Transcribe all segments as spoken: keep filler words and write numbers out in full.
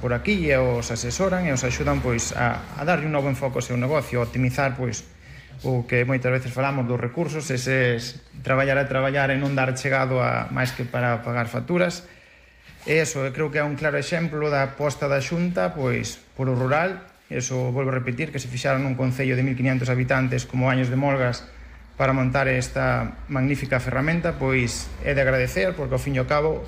por aquí e os asesoran e os axudan pois a, a darlle un novo enfoque ao seu negocio, a optimizar pois o que moitas veces falamos dos recursos, eses traballar e traballar e non dar chegado a máis que para pagar facturas. E iso, eu creo que é un claro exemplo da aposta da Xunta pois por o rural. Eso, volvo a repetir, que se fixaron nun concello de mil quinientos habitantes como Años de Molgas para montar esta magnífica ferramenta, pois é de agradecer, porque ao fin e ao cabo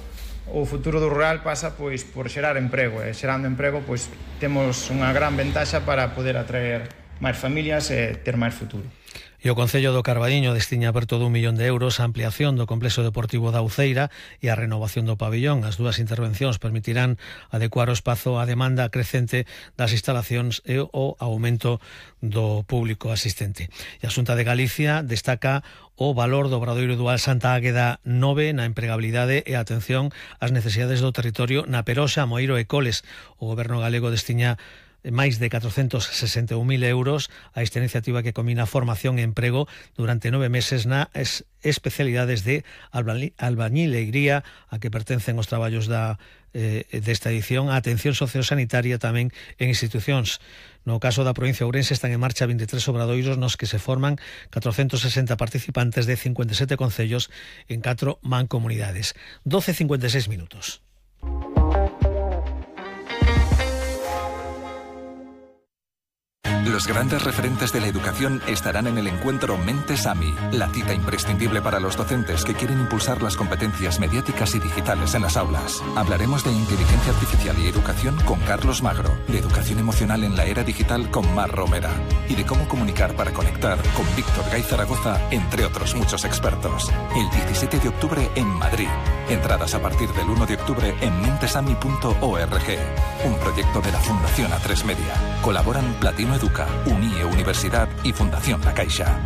o futuro do rural pasa pois por xerar emprego, e xerando emprego pois temos unha gran ventaxa para poder atraer máis familias e ter máis futuro. E o Concello do Carballiño destiña perto dun millón de euros a ampliación do complexo deportivo da Uceira e a renovación do pabillón. As dúas intervencións permitirán adecuar o espazo á demanda crecente das instalacións e o aumento do público asistente. E a Xunta de Galicia destaca o valor do Obradoiro Dual Santa Águeda nove na empregabilidade e a atención ás necesidades do territorio na Peroxa, Moeiro e Coles. O Goberno galego destiña máis de catrocentos sesenta e un mil euros a esta iniciativa que combina formación e emprego durante nove meses nas especialidades de albañilería a que pertencen os traballos da, eh, desta edición, a atención sociosanitaria tamén en institucións. No caso da provincia de Ourense están en marcha vinte e tres obradoiros nos que se forman catrocentos sesenta participantes de cincuenta e sete concellos en catro mancomunidades. doce e cincuenta e seis minutos. Los grandes referentes de la educación estarán en el encuentro Mentes AMI, la cita imprescindible para los docentes que quieren impulsar las competencias mediáticas y digitales en las aulas. Hablaremos de inteligencia artificial y educación con Carlos Magro, de educación emocional en la era digital con Mar Romera y de cómo comunicar para conectar con Víctor Gay Zaragoza, entre otros muchos expertos. El diecisiete de octubre en Madrid. Entradas a partir del uno de octubre en mentesami punto org. Un proyecto de la Fundación A tres Media. Colaboran Platino Educa, Unie Universidad y Fundación La Caixa.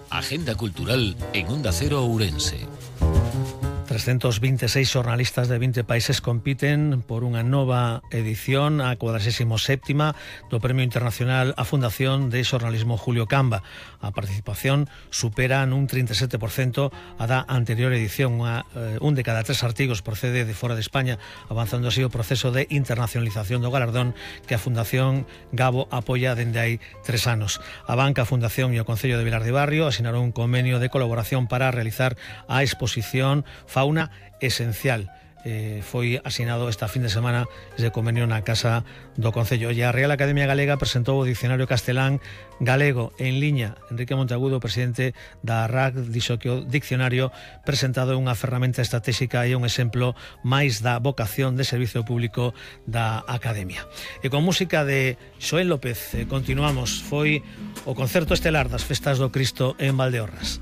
Agenda cultural en Onda Cero Ourense. trescentos veintiséis xornalistas de vinte países compiten por unha nova edición, a cuadragésima séptima do Premio Internacional a Fundación de Xornalismo Julio Camba. A participación supera nun trinta e sete por cento a da anterior edición. Unha, eh, un de cada tres artigos procede de fora de España, avanzando así o proceso de internacionalización do galardón que a Fundación Gabo apoia dende hai tres anos. A Banca, a Fundación e o Concello de Vilar de Barrio asinaron un convenio de colaboración para realizar a exposición Fauna Esencial. Eh, foi asinado esta fin de semana ese convenio na Casa do Concello. E a Real Academia Galega presentou o Dicionario Castelán Galego en liña. Enrique Monteagudo, presidente da R A C, dixo que o dicionario presentado é unha ferramenta estratégica e un exemplo máis da vocación de servicio público da Academia. E con música de Xoel López eh, continuamos. Foi o concerto estelar das Festas do Cristo en Valdeorras.